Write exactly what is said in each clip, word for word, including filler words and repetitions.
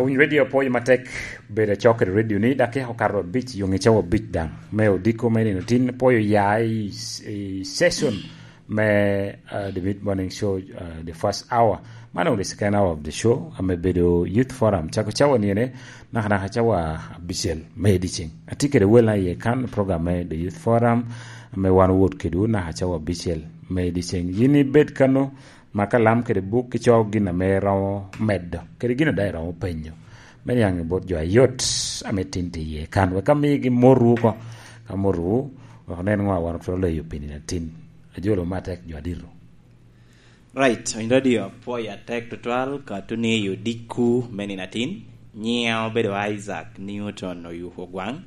Winy radio apwoyo matek bedo acok kede radio ni, dakika okato abic, yo nge cawa abic daŋ. Me odiko me nino tin, pwoyo ya i, i session me, uh, the mid morning show, uh, the first hour. Mano the second hour of the show, ame bedo Youth Forum. Cako cawa niene, naka naka cawa abicel me ediceng. Ati kede wel na iye kan program me the Youth Forum, ame wan wot kede naka cawa abicel me ediceng. Yin ibed kano, ma kalam kede buk ico gin ame romo medo, kede gin ame daŋ iromo penyo. Me niaŋ i bot jo ayot ame tin tye iye kan, wek amigi motwu oko, ka motwu, wek onen ŋo a wan otwero leyo pi nino atin. Ajolo matek jo adito. Right, in radio apwoyo atek tutwal, ka tuni i odikku me nino atin. Nyiŋa obedo Isaac Newton Oyuko Gwaŋ,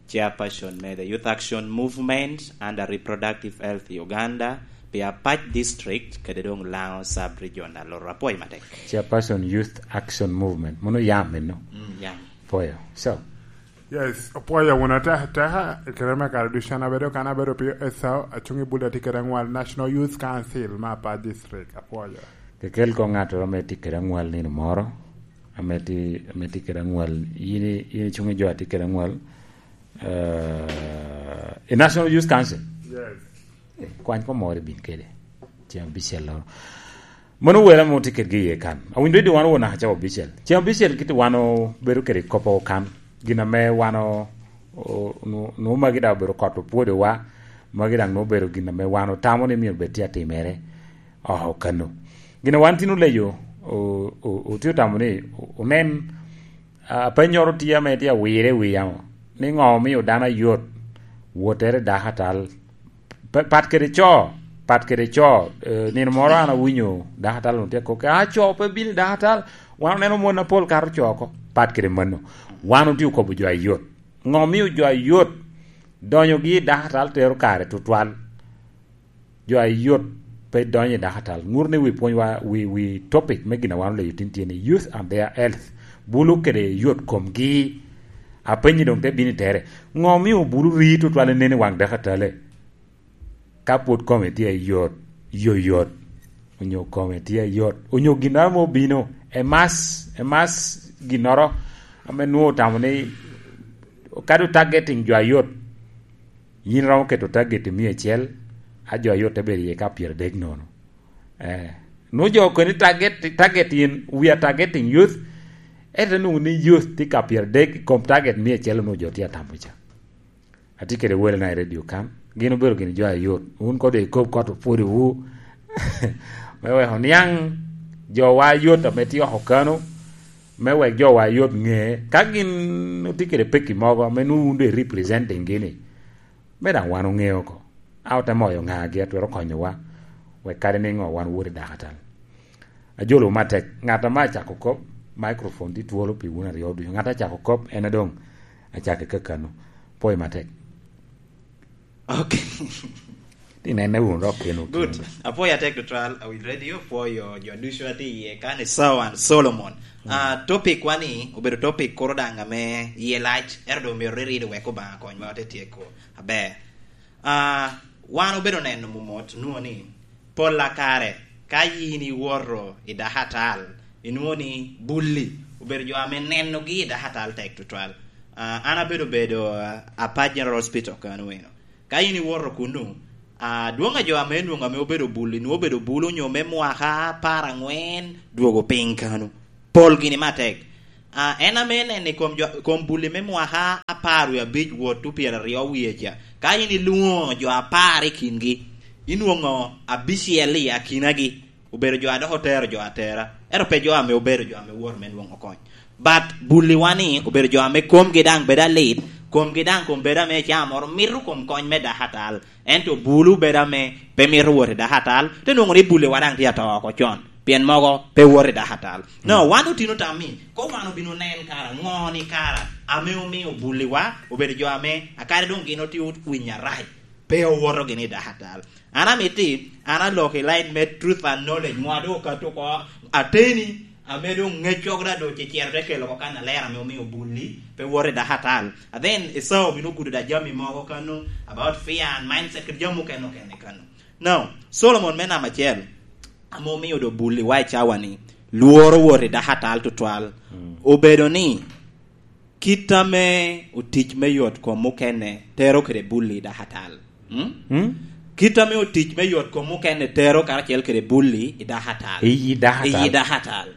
chairperson me the Youth Action Movement under Reproductive Health Uganda, pi Apac District, kede doŋ Laŋo Sub-Region, aloro apwoyo matek. Chairperson Youth Action Movement, mono yam eno? Mm, yam. Pwoyo. So. Yes, opwoyo wunu atek, teka, i kare me kare ducu an abedo kan abedo pio Esau, acung i bul atye kede aŋwal National Youth Council me Apac District, apwoyo. Kekel ko ŋattoro ame tye kede aŋwal nino moro, ame tye, ame tye kede aŋwal, yin i-, yin icung i jo atye kede aŋwal, eh, i National Youth Council. Yes. Eh, kwany ko moro ibin kede. Ceng abicel loro. Mano wele mo tye kedgi iye kan. Awinyo didi wan won naka cawa abicel. Ceng abicel kiti wan obedo kede kop oko kan. Gin ame wan o-, o-, nu-, nu magi daŋ obedo kot opwodowa. Magi daŋ nu obedo gin ame wan otamo ni myero bed tye atimere. Oh, kano. Gin wan tin oleyo, o-, o-, otye otamo ni o-, onen, a, apennyoro tye ame tye awire i wi yamo. Ni ŋo omio dano ayot wotere dako atal? Pa-, pat kede co, pat kede co, eh, nino moro an awinyo dako atal onwoŋo tye akok, "Ah, co pe bino i dako atal, wan oneno mon apol kato co oko." Pat kede mano, wan otye okobo jo ayot. Ŋo omio jo ayot donyogi i dako atal tero kare tutwal? Jo ayot pe donyo i dako atal. Ŋut ni wi pwonywa, wi, wi topic me gin a wan oleyo tin tye ni youth and their health. Bulu kede yot komgi. Apenyi doŋ te bino i tere. Ŋo omio bulu rii tutwal inen i waŋ dako atale? Ka pwod kome tye ayot, yoyot, onyo kome tye ayot, onyo ginnoro mo obino, emas, emas ginnoro ame nwoŋo otamo ni kadi targeting jo ayot, yin romo keto target i mia acel, a jo ayot te bedo iye ka pyeradek nono. Eh, nwoŋo jo okoni target, target in, we are targeting youth, ento nwoŋo ni youth tye ka pyeradek i kom target mia acel onwoŋo jo tye atamo ca. Atye kede welena i radio kan. Gin obedo gin jo ayot. Wun kodo ikob kot opwodowu. Me wek oniaŋ jowa ayot ame tye oko kano. Me wek jowa ayot ŋe. Ka gin otye kede pekki mogo ame nwoŋo wun doŋ i representing gini, me daŋ wan oŋe oko. A ote moyo ŋagi a twero konyowa. Wek kadi niŋo wan wot i dakatal. Ajolo matek. Ŋat ame acako kop, microphone tye twolo pi wun aryo ducu. Ŋat acako kop, en adoŋ acako i kakano. Pwoyo matek. Ok. Tinene wunu dok keno. Good. Keno. Apwoyo atek tutwal, Awil Radio, pwoyo jo ducu a tye iye kan, Esau and Solomon. Mm. Ah, topic wani obedo topic kuro daŋ ame iye lac, ento doŋ myero rirido wek Obaŋa konywa te tyeko aber. Ah, wan obedo neno momot, nwoŋo ni pol a kare, ka yin iwoto i dakatal, inwoŋo ni bulli obedo jo ame nenogi i dakatal tek tutwal. Ah, an abedo bedo, ah, Apac General Hospital kano eno. Ka yin iwoto kunnu, ah, dwoŋ a jo ame nwoŋo ame obedo bulli, nwoŋo obedo bulu onyo me mwaka apar aŋwen dwogo piny kano. Pol gini matek. Ah, en ame neno i kom jo, kom bulli me mwaka apar wie abic wot tu pyeraryo wie ca. Ka in ilwoŋo jo apar i kingi, inwoŋo abicel i akinagi obedo jo a dok otero jo atera, ento pe jo ame obedo jo ame woto me nwoŋo kony. But bulliwa ni obedo jo ame komgi daŋ bedo alit, komgi daŋ kom bedo ame ecaa moro mito kom kony me dakatal. Ento bulu bedo ame pe mito wot i dakatal, te nwoŋo ni bulliwa daŋ tye ato oko con, pien mogo pe wot i dakatal. No, mm, wan otino tam ni, ko wan obino nen kara, ŋo ni kara, ame omio bulliwa obedo jo ame, akadi doŋ gin otye owinyo arac, pe owoto gini i dakatal. An amiti, an aloko i line me truth and knowledge, ŋo a doŋ okato oko ateni, ame doŋ ŋec cok da doŋ cecero te kelo oko kan aler ame omio bulli pe woto i dakatal. And then, Esau obino gudo da jami mogo kano, about fear and mindset, kede jami mukene okene kano. Now, Solomon me namba acel, ame omio do bulli wa i cawa ni, lworo wot i dakatal tutwal. Mm. Obedo ni kit ame otic me yot kom mukene tero kede bulli i dakatal. Mm? Mm? Kit ame otic me yot kom mukene tero karacel kede bulli i dakatal. I dakatal. I dakatal.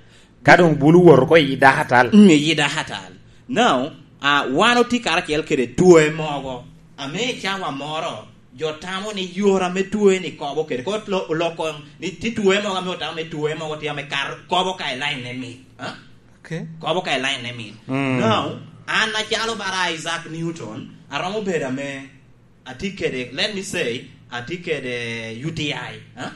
Ka doŋ bulu woto oko i dakatal. Mm, i dakatal. Now, ah, wan otye karacel kede twoe mogo. Ame i cawa moro, jo tamo ni yore ame twoe ni kobo kede. Kot lo-, oloko ni ti twoe mogo ame otamo ni twoe mogo tye ame kar-, kobo ka i line ne mit. Ha? Okay. Kobo ka i line ne mit. Mm. Now, an acalo bara Isaac Newton, aromo bedo ame atye kede, let me say, atye kede U T I, ha?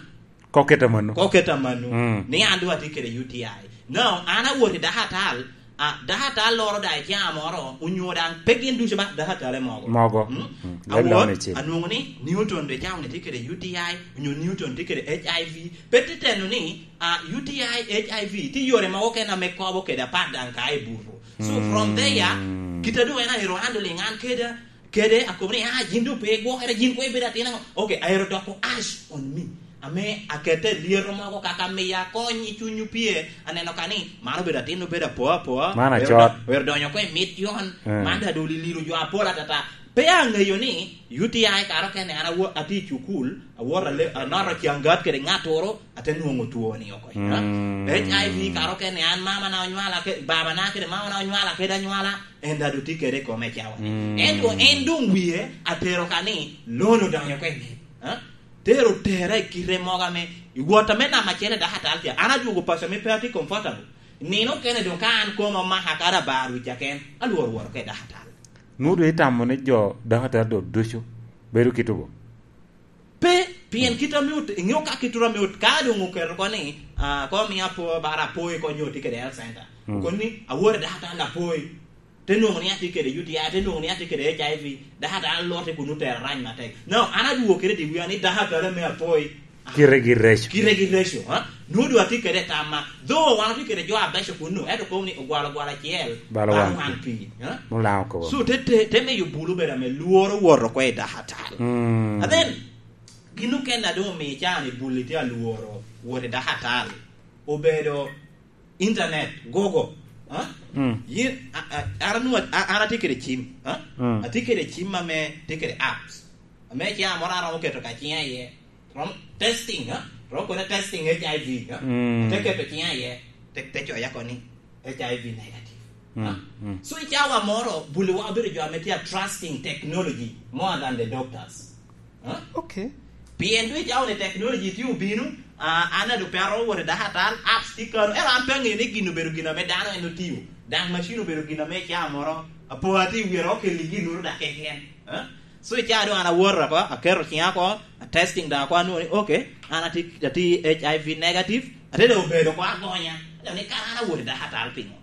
Koketa mano. Koketa mano. Mm. Ni an doŋ atye kede U T I. Now, an awot i dakatal, a, dakatal loro da i caa moro, onyo daŋ pe gin ducu ba, dakatale mogo. Mogo. Mm? Mm. Awot, anwoŋo ni Newton de caa ni tye kede U T I, onyo Newton tye kede H I V. Pe te teno ni, a, U T I, H I V, tye yore mogo kene ame kobo kede apat daŋ ka i buto. So, from there, mm, kit a doŋ en aero handling an keda, kede akobo ni, "Ah, yin doŋ pe igwokere, yin koŋ ibedo atin aŋo?" Okay, aero doko ash on me. Ame akete lyeto mogo kaka miya kony i cuny opye, aneno ka ni, man obedo atin, obedo apoa apoa. Man oero acot. Do-, oero donyo oko i mit yon, mm, man da doŋ liliro jo apol atata. Pe aŋeyo ni U T I kare okene an awo-, atye i cukul, awoto ale-, anoto cangat kede ŋattoro, ate nwoŋo twoni oko. Mm. H I V kare okene an mamana onywala ke-, babana kede mamana onywala kede anywala, en daŋ doŋ tye kede i kome i cawa ni. Mm. Ento en doŋ wie atero ka ni loan odonyo oko i mit. Ha? Tero tera i kite mogo ame i wot ame namba acel i dakatal ca, an adwogo paco ame pe atye comfortable. Nino okene doŋ ka an koma omaka kadi abar wic aken, alworo wot oko i dakatal. Nwoŋo doŋ itamo ni jo dakatal doŋ ducu bedo kite bo? Pe, pien kit ame ot-, iŋeo ka kit ame ot-, ka doŋ oketo oko ni, ah, ko miyo apo-, bara apoyi ko nyo tye kede health center. Mm. Okoni, "Awot i dakatal apoyi." Te nwoŋo ni atye kede U T I, te nwoŋo ni atye kede H I V, dakatal lote kun otero arac matek. No, an adwogo kede i wia ni dakatal ame apoyi. Kite gi reco. Kite gi reco, ha? Nwoŋo doŋ atye kede tamma. Though wan otye kede jo abeco kunnu, ento kobo ni ogwalo gwal acel, balo wan wan pi, ha? Mulaŋo kobo. So, te, te, te miyo bulu bedo ame lworo wot oko i dakatal. Mm. And then, gin okene a doŋ omio caa ni buli tye alworo wot i dakatal. Obedo internet, Google, ha? Mm. Yin, a, a, an anwoŋo, a, an atye kede cim, ha? Mm. Atye kede cim ame tye kede apps. Ame caa moro aromo keto ka ciŋa iye. Rom testing, ha? Rom kone testing H I V, ha? Mm. Te keto ciŋa iye, te, te coya koni H I V negative. Mm, ha? Mm. So, i cawa moro, buliwa obedo jo ame tye a trusting technology more than the doctors. Ha? Okay. Pien doŋ i cawa ni technology tye obino, ah, an adu pe aromo wot i dakatal, apps tye kano, ento an pe aŋeyo ni gin obedo gin ame dano en otiyo. Daŋ macin obedo gin ame i cawa moro, apo atye i wira okelli gin uru dak keken. Ha? So, i caa doŋ an awoto oko, aketo ciŋa oko, atesting daŋ oko, anwoŋo ni, okay, an atye, atye H I V negative, ate doŋ obedo oko agonya. Ate ni, "Kara an awot i dakatal piŋo?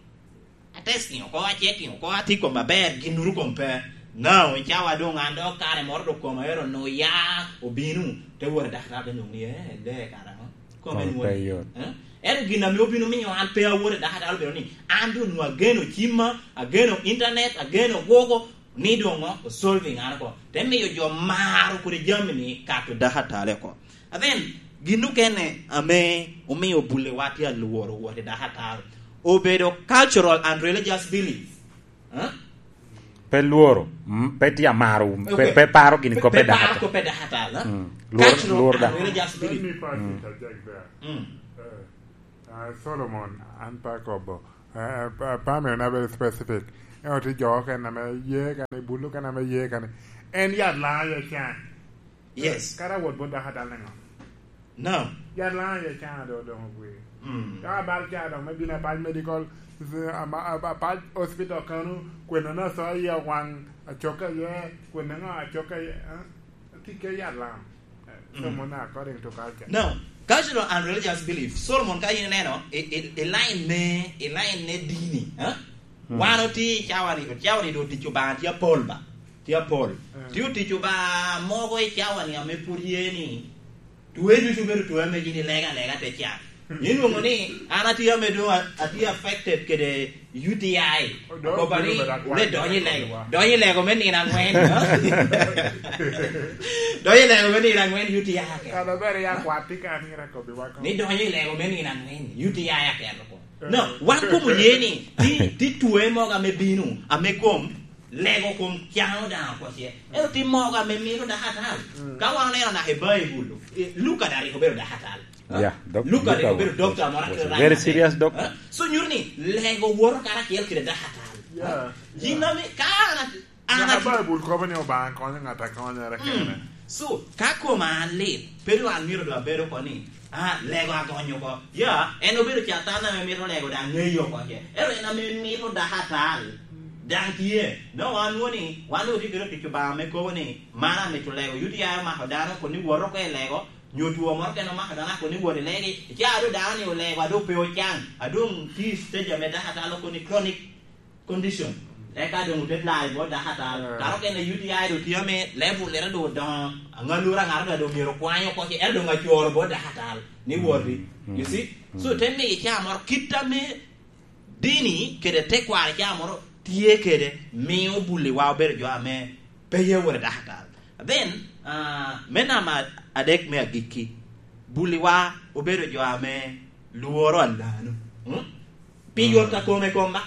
Atesting oko, achecking oko, atye kom aber, gin uru kom pe." Now, i cawa doŋ an dok kare moro doŋ koma ero onwoŋo ya obino, te wot i dakatal te nwoŋo ni, "Eh, lee kara ŋo? Kome pe yot." Eh? Ento gin ame obino miyo an pe awot i dakatal obedo ni, an doŋ onwoŋo ageno cimma, ageno internet, ageno Google, ni doŋ o-, o solving an oko. Te miyo jo maro kodi jami ni kato dakatal oko. And then, gin okene ame omio bulewa tye alworo wot i dakatal obedo cultural and religious belief. Huh? Pe lworo, mm, pe tye amaro, pe, okay, pe paro gini pe, kop pe paro dakatal. Kop pe dakatal, huh? Mm. Lworo, cultural lworo and da religious belief. Let me pass it, mm, interject there. Mm. Eh, ah, Solomon, an pe akobo. Eh, pa-, pame na very specific. En otye jo okene ame ye kani, bulu kene ame ye kani. En yat Laŋo aye can. Yes. Kara wot bot dakatal niŋo? No. Yat Laŋo aye can do doŋ ogwe. Mm. Ka abal ca doŋ me bino apac medical, ama-, apa-, apac hospital kano, kwene na so aye waŋ acokke aye, kwene ŋo acokke aye, eh? Tye ke yat Laŋo. Mm. Somo na according to culture. Now, cultural and religious belief. Solomon ka in ineno, i, i, i line me, i line me dini, eh? Mm. Wan otye i cawa ni, cawa ni doŋ tic Obaŋa tye apol ba. Tye apol. Mm. Tye otic Obaŋa mogo i cawa ni ame pwod ye ni, twe ducu bedo twe ame gin ilega alega te can. Inwoŋo ni an atye ame doŋ a-, atye affected kede U T I. Odonyo. Akoba ni, bedo akwat, wule donyo i lego. Donyo i lego me nino aŋwen, ha? Donyo i lego me nino aŋwen, U T I aketo. Kara ber ya kwat tye ka mira kobbi wako. Ni donyo i lego me nino aŋwen, U T I aketo ko. No, wan kom oye ni ti, ti twe mogo ame bino, ame kom lego kom caŋo daŋ oko ce. Ero ti mogo ame mito dako atal. Ka wan oneno naka i Baibul, eh, Luka daŋ rik obedo dako atal. Yeah, doc-, Luka rik Luka obedo was, dokta moro was a kite very serious doctor. Eh? So nyuto ni lego woto karacel kede dako atal. Yeah. Yin ame, ka an at-, an Dok at-, Baibul kobo ni Obaŋa konyo ŋat a konyere kene. So, ka koma an lit, pe doŋ an myero doŋ abed oko ni, "Ah, lego agonyo oko." Ya, en obedo Catan ame mito lego daŋ ŋeyo oko ce. Ero en ame mito dako atal. Daŋ tye. Dok wan nwoŋo ni, wan doŋ otye kede tic Obaŋa ame kobo ni, "Man amito lego." U T I omako dano, kun ni wot oko i lego, nyo two moro kene omako dano, kun ni wot i legi. Ica a doŋ dano ni olego, a doŋ pe ocaŋ, a doŋ tye i stage ame dako atal oko ni chronic condition. Eka doŋ ote lai bot dako atal. Kara okene U T I doŋ tye ame level ere doŋ odoŋo. Aŋalura ŋato doŋ myero okwany oko ce, ento doŋ acoro bot dako atal ni woti. You see? So, te miyo icaa moro kit ame dini kede tekwaro icaa moro tye kede, mio buliwa obedo jo ame pe ye wot i dako atal. Then, ah, me namba adek me agikki, buliwa obedo jo ame lworo alano. Hmm? Pi yot a kome kom ba?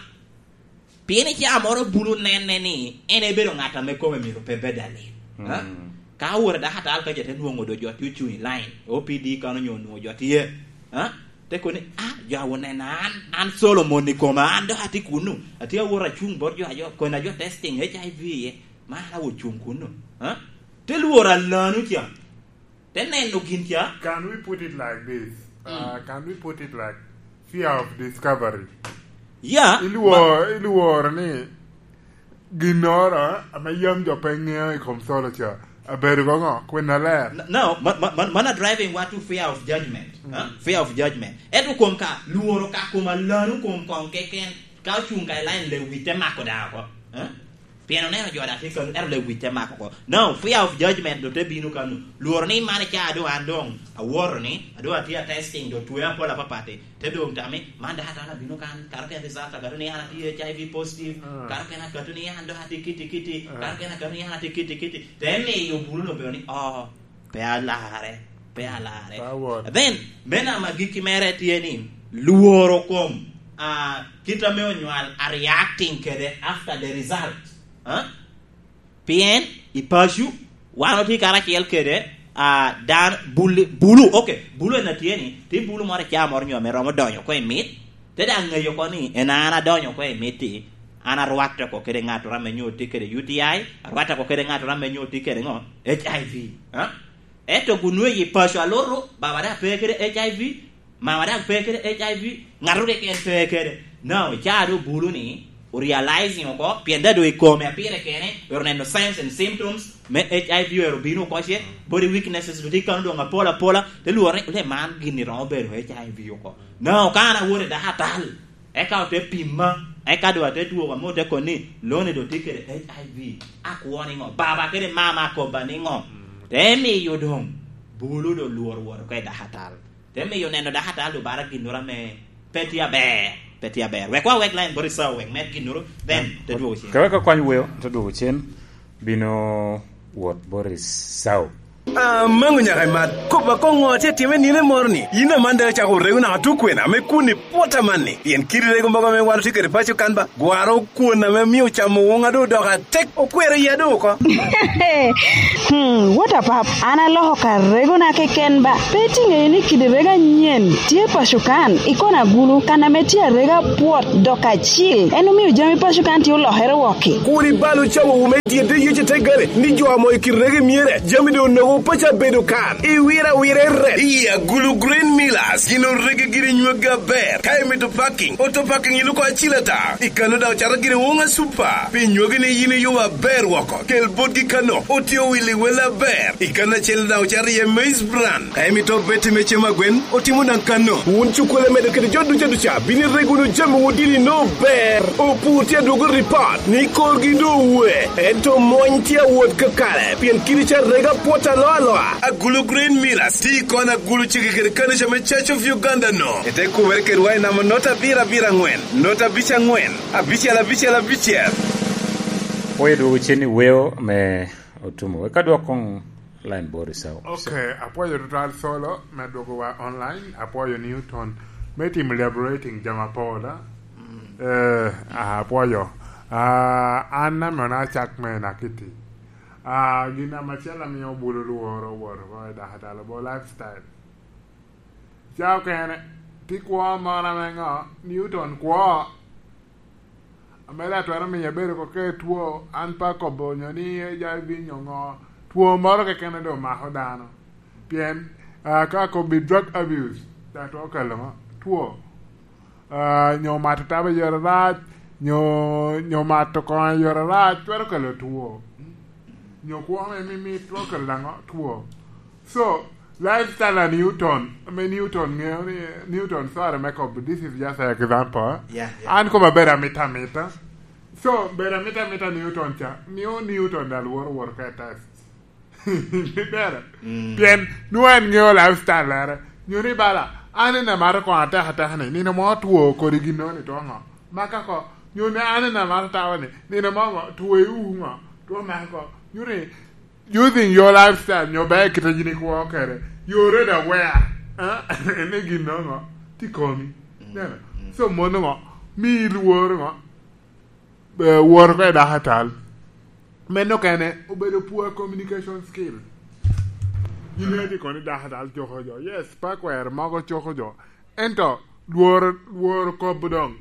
Pien icaa moro bulu nenne ni en ebedo ŋat ame kome myero pe bed alit. Ha? Ka owot i dako atal ka ca te nwoŋo doŋ jo tye ocuŋ i line, O P D kan onyo onwoŋo jo tye. Ha? Te kono ni, "Ah, jo a onena an, an Solomon i koma, an dok atye kuno. Atye awot acuŋ bot jo a jo, kona jo testing H I V iye. Ma an awo cuŋ kuno." Ha? Te lworo alano ca. Te neno gin ca. Can we put it like this? Uh, can we put it like fear of discovery? Yeah. Ilwor-, ilworo ni ginnoro ame yam jo pe ŋeo i kom Solo ca, abedo koŋo? Kwena ler? N-, no, ma-, ma-, ma-, man a driving wa to fear of judgment. Huh? Fear of judgment. Ento kom ka, lworo ka kom alano kom koŋ keken, ka ocuŋ ka i line lewic te mako daŋ oko. Huh? Pien oneno jo daŋ tye kano, ento lewic te mako oko. No, fear of judgment doŋ te bino kano. Lworo ni man icaa doŋ an doŋ awoto ni, a doŋ atye a testing, doŋ twe apol apapat-ti. Te doŋ tami, man daŋ atamo abino kan, kato kene result akato ni an atye H I V positive, kato kene akato ni an dok atye kiti kiti, kato kene akato ni an atye kiti kiti. Te miyo bulu-nu obedo ni, "Oh, pe alarre, pe alarre." Then, me namba agikki mere tye ni, lworo kom, ah, kit ame onywal a reacting kede after the result. Ah? Pien i paco, wan otye karacel kede, ah, dan-, bulu, bulu, ok, bulu en atye ni, tye bulu moro icaa moro nyo ame romo donyo oko i mit, te daŋ ŋeyo oko ni en an adonyo oko i mit-ti, an arwatte oko kede ŋattoro ame nyo tye kede U T I, arwatte oko kede ŋattoro ame nyo tye kede ŋo? H I V. Ah? Ento gunwe i paco alutu, baba daŋ pe kede H I V, mama daŋ pe kede H I V, ŋato keken pe kede. Now, icaa doŋ bulu ni, o realizing oko, pien daŋ doŋ i kome a pire kene, ero neno signs and symptoms me H I V ero bino oko ce, body weaknesses doŋ tye kano doŋ apol apola, te lworo ni, "Le man gin-ni romo bedo H I V oko." Now, ka an awoto i dako atal, eka ote pima, eka doŋ ate dwogo ame ote kono ni, "Loni doŋ tye kede H I V, akwo niŋo? Baba kede mama akobba niŋo?" Te miyo doŋ bulu doŋ lworo wot oko i dako atal. Te miyo neno dako atal doŋ bara ginnoro ame pe tye aber, pe tye aber. Wek wa wek line bot Esau wek med ginnoro, then te dwogo cen. Ka wek akwany weo, te dwogo cen, bino wot bot Esau. Amaŋo nyaka imat, kop akoŋo atye atime nino moro ni? Yin aman daŋ icako rego naka tukwena ame kwoni pwot amanni? Pien kidi rego mogo ame wan otye kede paco kan ba, gwaro kwon ame mio camo woŋa doŋ odoko atek, okwero iya doŋ oko. Hmm, what a pap, an aloko ka regona keken ba. Pe itiŋeyo ni kidi rego anyen tye paco kan, i kona agulu, kan ame tye arega pwot dok acil. En omio jami paco kan tye olokere wok-ki. Kur ibal ocawowu me dyedde Yecu te gare, ni jo amo i kit rego myere, jami doŋ onogo paco abedo kan. Iwiro awira i ret. Iya, Gulu Grain Millers, gin orege giri nywagi aber. Ka imito parking, auto parking iluko acil ata. I kano daŋ ocato giri woŋa super. Pi nywagi ni yin iyubo aber woko. Kel botgi kano, otye owili wel aber. I kano acel daŋ ocato iye maize bran. Ka imito beti me cem agwen, otimo daŋ kano. Wun cukkulu medo kede jo duca duca, bino irego wunu jami wun dini no ber. Opur tye adwogo ripot ni korgi doŋ owe, ento mony tye awot kakare, pien kidi ca rega pwot aloa aloa. Agulu Grain Millers, ti kon agulu cege kede kanica me Church of Uganda no. Ete kubere kedwa i namba nota abiro abiro angwen, nota abic angwen, abicel abicel abicel. Oye dwogo cen i weo me Otumo, wek adwok koŋ line bot Esau. Ok, apwoyo tutwal Solo me dwogowa online. Apwoyo Newton. Me timo liberating jami apol, a? Eh, ah, apwoyo. Ah, an ame ona acak me nakiti. Ah, gin ame acel amio bulu lworo woro ko i daka dalo bo lifestyle. Ca okene, ti kwo moro ame ŋo? Newton kwo. Ame dok twero miyo abedo oko ke two, an pe akobo nyo ni H I V nyo ŋo, two moro keken a doŋ mako dano. Pien, ah, ka akobbi drug abuse, dok twero kelo ŋo? Two. Ah, nyo mato taba i yore arac, nyo, nyo mato koŋo i yore arac, twero kelo two. Nyo kwo me mimit twero kelo daŋo? Two. So, lifestyle a Newton, ame Newton ŋeo ni, Newton, sorry me kobo, this is just an example. Yeah, yeah. An koma bedo amita amita. So, bedo amita amita Newton ca, mio Newton dal woro woro ka i test. Bere. Mm. Pien, nwoŋo en ŋeo lifestyle mere. Nyo ni bala, an en amaro koŋo ateka ateka ni, nino mo two kodi gin no ni two ŋo. Maka ko, nyo ni an en amaro tawa ni, nino mo ŋo, two i u ŋo, two mako. Nyo ni, using your lifestyle, nyo ber kite yin ikwo kede. You're already aware, eh? Ni gin no ŋo, ti komi. Mm, neno? Mm. So, mono ŋo, mi lworo ŋo, eh, woro ko i dako atal. Meno kene, obedo poor communication skill. Yin iti kono i dako atal coko jo. Yes, pa kwero mogo coko jo. Ento, lworo, lworo kobo doŋ.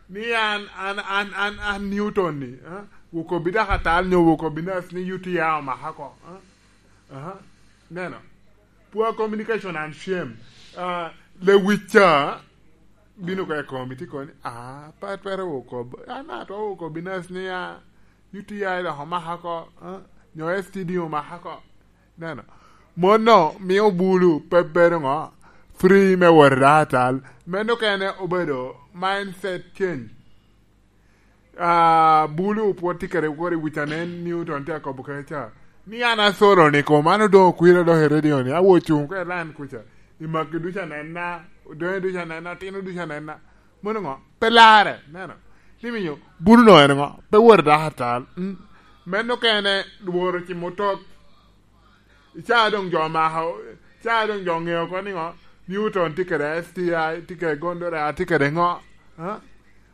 Ni an, an, an, an, an Newton ni, eh? Wukobbi dako atal nyo wukobbi nas ni U T I omaka ko, eh? Aha. Neno. Poor communication and shame. Ah, lewic ca bino ka i komi, ti koni, "Ah, pa twero woko, an atwero woko binas ni a U T I dok omaka ko, ah, nyo S T D omaka ko." Neno. Mono mio bulu pe bedo ŋo? Free me wot i dako atal. Meno kene obedo mindset change. Ah, bulu pwod tye kede woro i wic anen, Newton tye akobo kede ca. Ni an asolo ni kom, an odoŋo kwira dok i radio ni, awo cuŋ ka i line kuca. I magi ducu anena, odonyo ducu anena, otino ducu anena. Mono ŋo? Pe larre, neno. Ni miyo, bulu no en ŋo? Pe wot i dako atal. Mm. Meno kene lworo cimo tok. Ica doŋ jo omako, ica doŋ jo oŋeo oko ni ŋo? Newton tye kede S T I, tye kede gonorrhea, tye kede ŋo? Ha?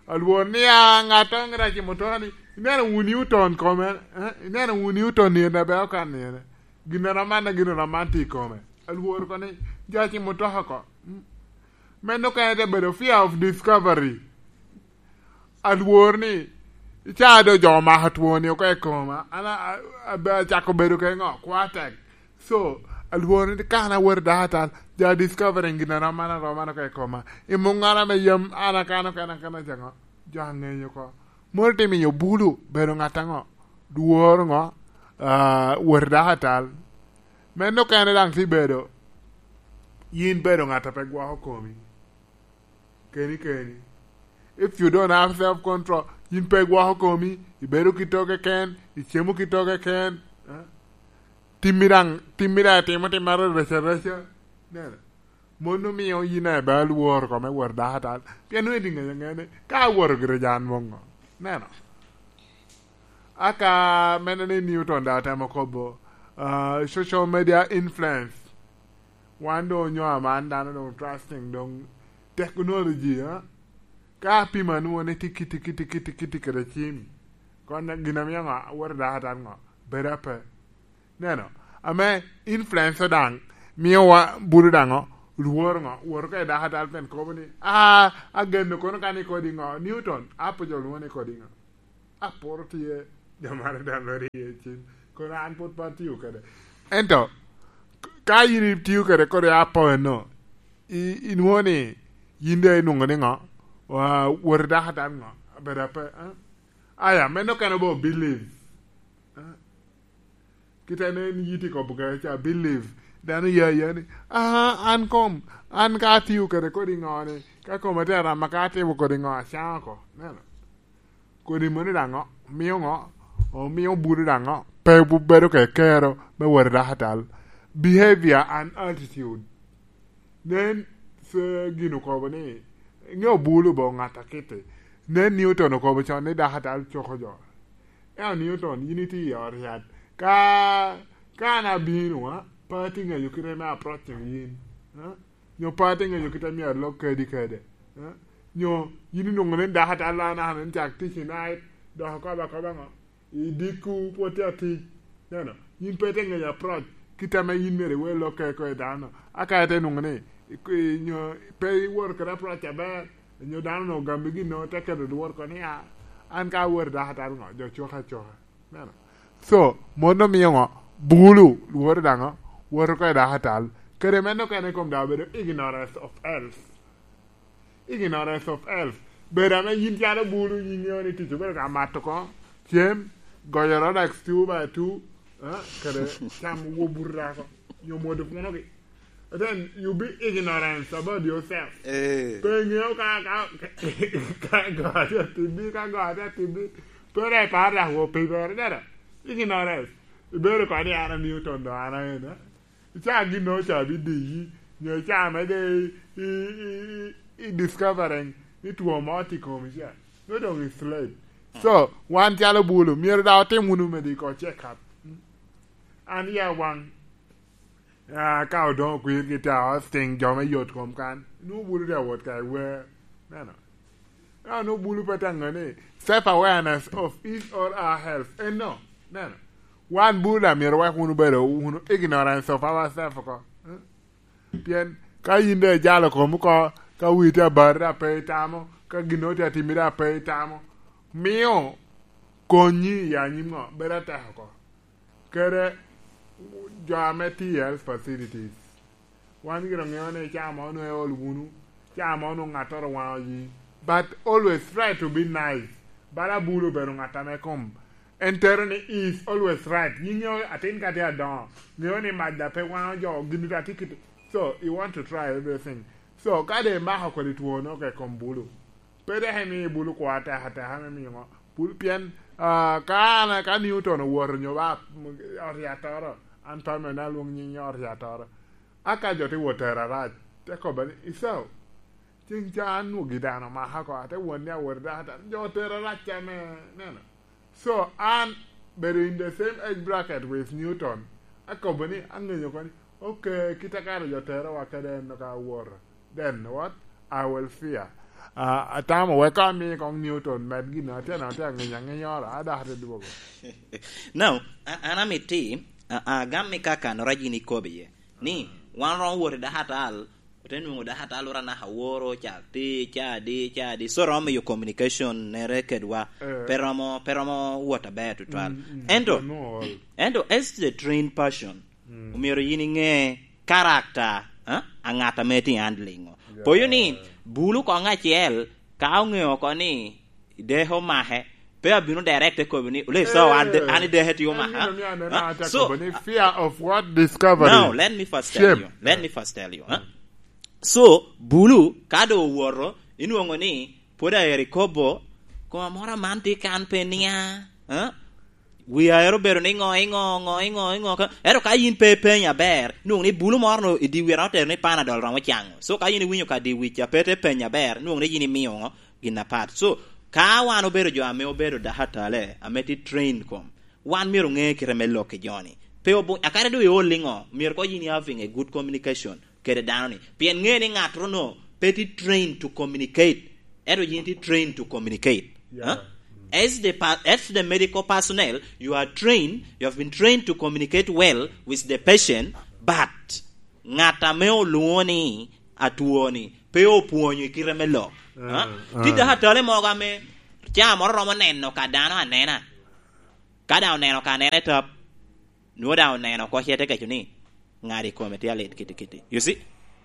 Alwor ni a ŋat oŋ rac i motoka ni, ineno wun Newton kome, eh? Ineno wun Newton ni en abe okan ni en. Gin eno aman, gin eno aman tye i kome. Alwor oko ni, jo aci motoka oko. Mm. Meno kene te bedo fear of discovery. Alwor ni, ica do jo omako twoni oko i koma, an a-, a-, abe acako bedo ke ŋo? Kwatek. So, alwor ni ka an awot i dako atal, jo a discovering gin a rom an arom an oko i koma. I muŋ an ame yam an akano kena kena ca ŋo? Jo aŋenyo oko. Mono te miyo bulu bedo ŋat aŋo? Lworo ŋo? Ah, wot i dako atal. Meno kene daŋ ti bedo, yin bedo ŋat a pe gwoko komi. Keni keni. If you don't have self control, yin pe igwoko komi, ibedo ki to keken, icemo ki to keken, eh? Timmi daŋ, timmi daŋ itimo tim maro reca reca. Neno. Mon omio yin aye bal woro kome woro dako atal. Pien nwoŋo iti ŋeyo ŋene, ka aworo gire jan moŋo. Neno. Aka mene ni Newton daŋ otemo kobo, ah, social media influence. Wan doŋ onyo aman dano doŋ trusting doŋ technology, ha? Ka apimo anwoŋo ni tye kiti, kiti, kiti, kiti kede cim, kon gin amio ŋo? Awot i dako atal ŋo? Bedo ape. Neno, ame influence daŋ mio wa bulu daŋo, lworo ŋo? Woro ka i dako atal pen kobo ni, "Ah, ageno kono ka ni kodi ŋo? Newton, apo jo lwongo ni kodi ŋo?" Aporo tye, jo mare daŋ lworo iye cim. Kono an pwod pe atio kede. Ento, ka yin itio kede kodi apo eno, i-, inwoŋo ni yin doŋ inwoŋo ni ŋo? Wa-, wot i dako atal ŋo? Abedo ape, eh? Aya, meno kene bo believe. Eh? Kite nen yiti kobo kede ca, believe. Dano ya ya ni, "Ah, an kom, an ka atio kede kodi ŋo ni, ka koma tye arama ka atimo kodi ŋo, acaŋo oko." Neno. Kodi moni daŋo, mio ŋo? Omio bulu daŋo, pe bu-, bedo ke kero me wot i dako atal. Behavior and attitude. Nen, se gin okobo ni, ŋeo bulu bo ŋat a kite. Nen Newton okobo con ni dako atal coko jo. Eo Newton, yin itye i ot yat. Ka, ka an abino, ha, pe atye ŋeyo kite me approaching yin. Ha? Nyo pe atye ŋenyo kit a myero alok kadi kede? Eh? Nyo yin inwoŋo ni dako atal an an cak tic i night, dok akobo akoba ŋo? I dikku pwod tye atic. Neno, yin pe itye ŋenyo approach kit ame yin myero iwe lokke oko i dano. Aka ite nwoŋo ni, i- i- nyo pe iwoto kede approach aber, nyo dano onwoŋo ogami gin nwoŋo te keto lworo oko ni, "Ah, an ka aworo dako atal ŋo, jo coka acoka." Neno. So, mon omio ŋo? Bulu, lworo daŋo? Woto oko i dako atal. Kede meno kene kom daŋ obedo ignorance of health. Ignorance of health. Bedo ame yin calo bulu, yin iŋeo ni tic obedo ka mato oko, cem, goyo Rolex two by two, eh, kede cam wo buto dako, nyo mwodo punogi. Then you be ignorance about yourself. Eh. Pe iŋeo ka, ka, ka, ka goyo tye atibbi, ka goyo tye atibbi. Pe dok iparo dok wo pe ibero, dada. Ignorance. Ibedo koni an a Newton do an aena. Ica gin no ca bi diyi, nyo ica mede i, i, i, i discovering ni two mo tye i komi ca. No dong i slave. So, wan calo bulu, myero daŋ otim wunu mede i ko check up. An ya waŋ, ah, ka odoŋo kwir ki ta hosting jo me yot kom kan, nu bulu te wot ka i wer. Neno. Ka nu bulu pe te ŋo ni self awareness of his or her health. Eh, no. Neno. Wan bulu da myero wek wunu bedo wunu ignorance of ourselves oko. Hmm? Pien ka yin doŋ ijalo komi oko, ka wii tye abati da pe itamo, ka gin no tye atimi da pe itamo, mio konyi i anyim ŋo? Bedo atek oko. Kede jo ame tye i health facilities. Wan gire oŋeo ni ca mo onwoŋo eol wunu, ca mo onwoŋo ŋattoro waŋo yi. But always try to be nice. Bala bulu obedo ŋat ame kom en tero ni he is always right. Yin ŋeo atin ka tye adoŋo, ŋeo ni mac da pe waŋo jo, gin da tye kit. So, you want to try everything. So, ka de imako kodi two no ka i kom bulu, pe dok imi bulu kwo atek ateka me miyo ŋo. Bulu, pien, ah, ka an, ka Newton owoto nyo ba, mm, ot yatoro, an pe amene alwoŋ nying ot yatoro. A ka jo te wot tero arac, te kobba ni, "Icau, ceng ca an nwogi dano omaka oko, ate won ni awot i dako atal." Jo otero arac ca me neno. So, an bedo in the same age bracket with Newton, akobo ni, aŋenyo oko ni, "Okay, kit a kara jo terowa kede en ka awoto. Then what? I will fear." Ah, atamo wek ka ami kong Newton med gin atye na, atye aŋenyo aŋenyoro, a dok ate dwogo. Now, a- an amiti, a- agam i kaka nora yin ikobo iye. Ni, wan romo wot i dako atal, ote nwoŋo dako atal ora naka woro, ca ti, ca di, ca di. So romo miyo communication nere kedwa. Eh. Pe romo, pe romo wot aber tutwal. Mm, mm, ento, yeah, no, all. Ento, as the trained person, mm, omyero yin iŋe karakta, eh, a ŋat ame tye handling-o. Yeah. Poyo ni, bulu koŋ acel, ka oŋeo oko ni deke omake, pe abino direct te kobo ni, "Ole, so an de-, eh, an i deke tye omaka." Gin omio aneno, ah, ate so, kobo ni fear of what discovery. Now, let me first tell, shame, you. Let, eh, me first tell you, eh? So, bulu, ka do owoto, inwoŋo ni, pwod aero ikobo, koma moro aman tye kan pe nia, eh? Wi aero obedo ni ŋo, iŋo, ŋo, iŋo, iŋo, ka, ento ka yin pe ipenyo aber, nwoŋo ni bulu moro no i dyewira otero ni Panadol romo caŋo. So ka yin iwinyo ka dye wic a pe te penyo aber, nwoŋo ni yin imio ŋo, gin apat. So, ka wan obedo jo ame obedo dakatale, ame tye trained kom, wan myero oŋe kite me lok i joni. Pe obu-, akadi doŋ iol iŋo, myero ko yin i having a good communication kede dano ni. Pien ŋe ni ŋat rono pe tye trained to communicate. Ento yin tye trained to communicate. Yeah. Huh? As the pa-, as the medical personnel, you are trained, you have been trained to communicate well with the patient, but ŋat ame olwoŋo ni atwoni pe opwonyo i kite me lok. Huh? Ah, tye ah. Dakatale mogo ame ca moro romo neno ka dano anena. Ka daŋ oneno ka anena i tap, nwoŋo daŋ oneno oko ce te keco ni, "Ŋat i kome tye alit kiti kiti." You see?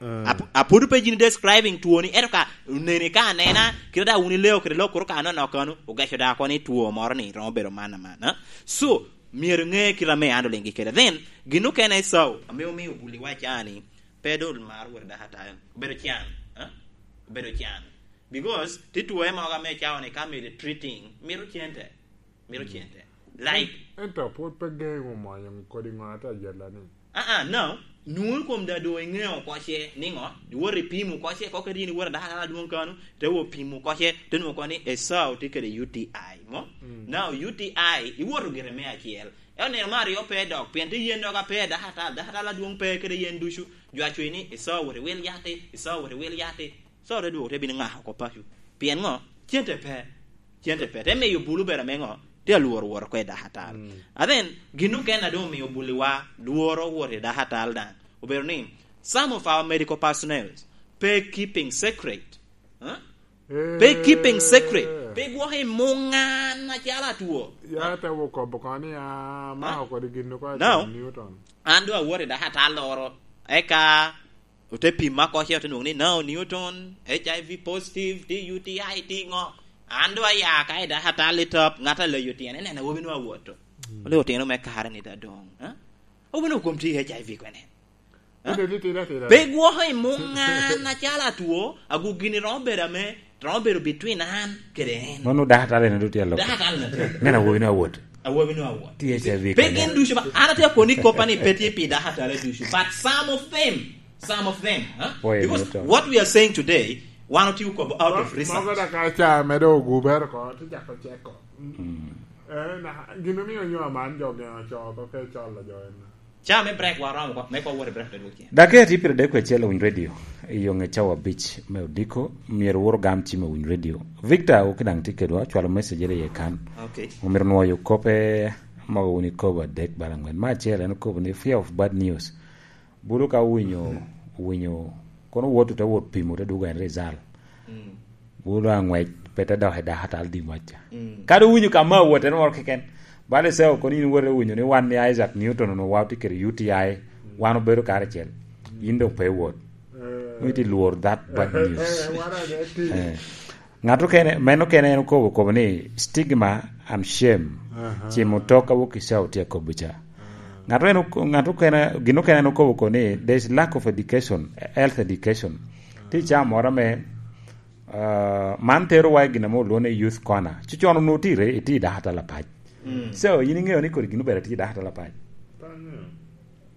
Ah. Ap-, apud pe yin describing twoni, ento ka oneni ka anena, kite daŋ wun ileo kede lok kuro ka anonok kano, ogeco daŋ oko ni two moro ni romo bedo man aman, ha? So, myero ŋe kite ame an oliŋgi kede. Then, gin okene Esau, ame omio obuliwa ca ni, pe doŋ mar wot dakatari. Obedo can, ha? Obedo can. Because, ti two mogo ame cawa ni ka mito treating, mito cente. Mito cente. Like, en-, ento pwod pe geŋo mwonyo kodi ŋo ate ajella ni. Ah, ah, no. Nwoŋo kom da do iŋeo oko ce, niŋo? Iwot ipimo oko ce, ko kadi in iwot adaka adaka adwoŋ kano, te wo pimo oko ce, te nwoŋo oko ni Esau tye kede U T I, mo? Mm. Now, U T I, iwoto gire me acel. Ento nino me aryo pe dok, pien tye yen dok ape dakatal, dakatal adwoŋ pe kede yen ducu. Jo acwe ni, "Iso wot iwil yati, iso wot iwil yati." So te dwogo te bino ŋako oko paco. Pien ŋo? Cente pe. Cente pe. Te miyo bulu bedo ame ŋo? Tye alworo wot oko i dakatal. Mm. And then, gin okene a doŋ omio buliwa lworo wot i dakatal daŋ. Obedo ni, some of our medical personnel pe keeping secret. Huh? Pe keeping secret. Pe gwoko i muŋ an acalo atwo. Ya te wo kobo kono ni, ah, ma okodi gin oko Now, Newton. An doŋ awot i dakatal loro. Eka ote pima oko ce, ote nwoŋo ni, "No, Newton, H I V positive, ti U T I, ti ŋo." An doŋ aya ka i dakatal i top, ŋat a leyo tyene, neno awobi nwa awoto. Mm. Ole otino me kare ni da doŋ, ha? Awobi nwa kom ti H I V kwene. Ha? Ite titira tira. Pe gwoko i muŋ an acalo atwo, agu gini romo bedo ame, romo bedo between an kede en. Mano dakatal en doŋ tye aloko. Dakatal na tye. Neno awobi nwa awot. Awobi nwa awot. T H I V Pe kwene. Gin ducu ba, an atye akoni koppa ni pe tye pi dakatal ducu, but some of them, some of them, huh? Boy, Because Newton. What we are saying today, wan otye okobo out of research. Mogo da ka ca medo ogubere ko, ti jako ceko. Mm. Eh, na, gin omio nyo aman jo geno co, ko ke colo jo en. Ca me break wa romo ko, me ko wore break te dwok cen. Dakika tye piero adek kwe acel Winy Radio, i yoŋe cawa abic me odiko, myero wuro gam ci me Winy Radio. Victor, oki daŋ tye kedwa, cwalo message ere ye kan. Okay. Omiro nwoyo kope, mogo wun ikobo adek bala angwen. Ma acel en okobo ni fear of bad news. Bulu ka owinyo, owinyo, kono wot te wot pimo te dugo en result. Mm. Bulu aŋwec, pe te dok i dakatal di ŋwecca. Mm. Kadi owinyo ka ma wot en moro keken. Bala ise kono in wot owinyo ni wan ni Isaac Newton onwoŋo wa otye kede U T I, wan obedo karacel. In doŋ pe iwot. Eh. Nwoŋo itye lwor that bad news. Eh, wan ane ti. Eh. Ŋat okene, men okene en okobo, okobo ni stigma and shame. Aha. Cimo tok a wok i cawa tye akobo ca. Ah. Ŋat en ok-, ŋat okene, gin okene en okobo ko ni there is lack of education, health education. Ti ca moro ame, ah, man tero wa i gin ame olwongo ni youth corner. Ci con onwoŋo tye i re-, itye i dakatal apac. Mm. So, in iŋeo ni kodi gin obere tye i dakatal apac. Pe aŋeo.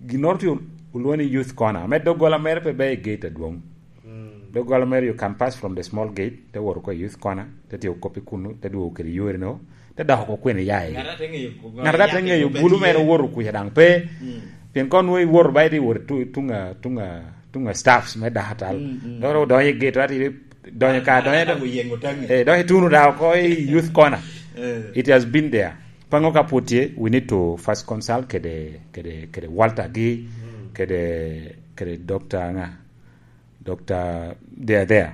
Ginnoro tye olwongo ni youth corner. Ame doggola mere pe ber i gate adwoŋ. Mm. Doggola mere you can pass from the small gate, te wot oko i youth corner, te tye okop i kunu, te dwogo kede yore no, te dok oko kwene ya i. Ŋat a te ŋeyo, ŋat a te ŋeyo bulu mere owoto kuca daŋ pe. Mm. Pien kono nwoŋo iwoto ba ite iwoto tu-, tuŋ a, tuŋ a, tuŋ a staffs me dakatal. Mm, mm. Dok odonyo i gate, ati donyo ka, donyo, donyo, eh, donyo ituno da oko i youth corner. Eh. It has been there. Paŋo ka pwod tye, we need to first consult kede, kede, kede Walter gi, mm, kede, kede Doctor ŋa? Doctor, they are there.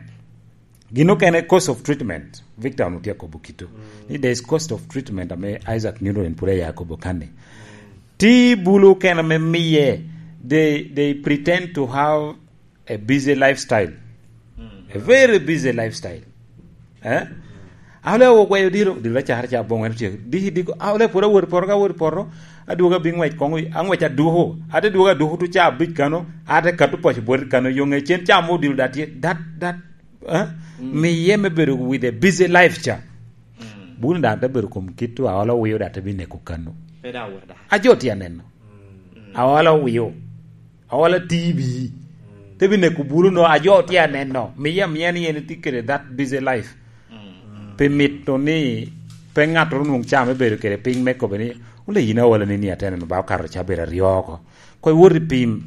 Gin okene cost of treatment, Victor onwoŋo tye akobo kito. Mm. Ni there is cost of treatment ame Isaac Newton pwod aya akobo kanni. Mm. Ti bulu okene ame miye, they, they pretend to have a busy lifestyle. Mm. A very busy lifestyle. Eh? Aole ogweyo diro, diro acar ca boŋo en tye. Di, di, aole pwod awot i poto, ka awot i poto, adwogo abino ŋwec koŋ, aŋwec aduko. Ate dwogo aduko tu ca abic kano, ate kato paco bwot kano, yo ŋe cen ca mo odilo da tye, that, that, eh? Mm. Miye me bedo with a busy life ca. Mm. Bun da te bedo kom kit tu aole owio da te bi neko kano. Pe da awot da. Ajo tye aneno. Mm. Aole owio. Aola T V. Mm. Te bi neko bulu no, ajo tye aneno. Miye amiya ni en tye kede that busy life. Mm. Pi mito ni pe ŋattoro nwoŋ ca me bedo kede piny me kobo ni, "Ole yin aola ni, ni ate neno ba okato ca bedo aryo oko." Ko iwot i pim.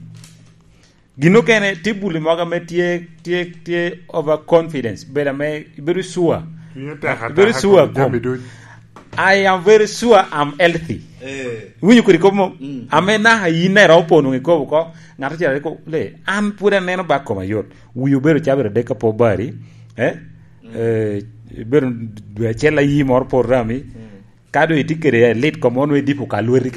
Gin okene tye bulu mogo ame tye, tye, tye overconfidence. Bedo ame, ibedo sure. Cunye tek ataka. Ibedo sure kom jami duc. I am very sure I'm healthy. Eh. Iwinyo kodi kop mo? Mm. Ame naka in na iromo po nwoŋo ikobo oko, ŋat acel rik ko-, le, an pwod aneno ba koma yot. Wi obedo cabit adek ka po bari, eh? Mm. Eh, ibedo dwe acel ayi moro po rami. Mm. Ka doŋ itye kede lit kom mo, nwoŋo idipo ka lweti